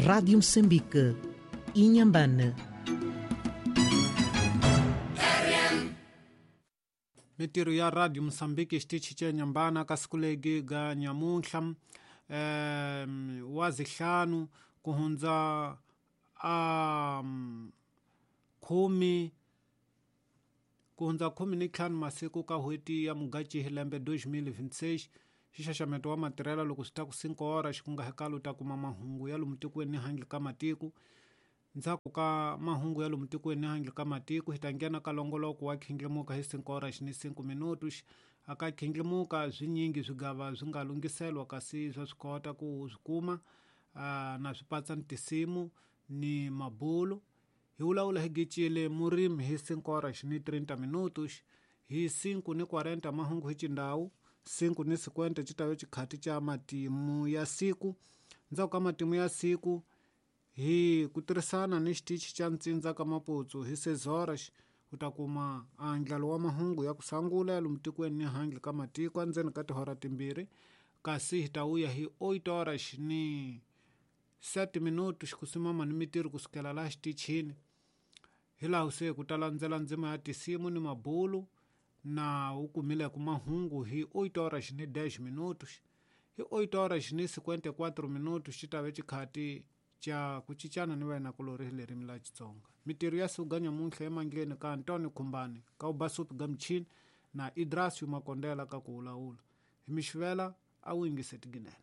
Rádio Moçambique, Inhambane. Mintirho ya Radio Moçambique xitichi xa Nyambana ka siku legi ga nyamuntlha wa zihlanu ku hundza a khume ku hundza 15 masiku ka n'hweti ya Mudyaxihi lembe 2026. Xixaxameto wa matirhelo loko swi ta ku 5 horas ku nga hekalo u ta kuma mahungu ya lomu tikweni ni handle ka matiko. Ndzhaku ka mahungu ya lomu tikweni ni handle ka matiko hi ta nghena ka longoloko wa khindlimuka hi 5 horas ni 5 minutos. Aka khindlimuka swinyingi swigava swi nga lunghiselwa kasi swa swi kota ku swi kuma na swi patsa ni tinsimu ni mabulu. Hi vulavula hi gicile murimi hi 5 horas ni 30 minutos. Hi 5 ni 40 mahungu hi xindhawu, 5 ni 50 xi ta va xikhati xa matimu ya siku. Ndzhaku ka matimu ya siku hi ku tirhisana ni xitichi xa ntsindza ka Maputsu hi 6 horas u ta kuma andlalo wa mahungu ya ku sungula ya lomu tikweni ni handle ka matiko endzeni ka tihora timbirhi, kasi hi ta vuya hi 8 horas ni 7 minutos ku simama ni mintirho kusukela laha xitichini. Hi laha se ku ta landzela ndzima ya tinsimu ni mabulu na u kumileke mahungu hi 8 horas ni 10 minutos. Hi 8 horas ni 54 minutos xi ta va xikhati xa ku cincana ni vayena-kulorhi hi ririmi ra Xitsonga. Mintirho ya siku ga nyamuntlha emandleni ka Antonio Khumbane ka Ubasupi ga michini na Idrasio Makondela ka ku vulavula. Hi mixivela a wu yingise tiginene.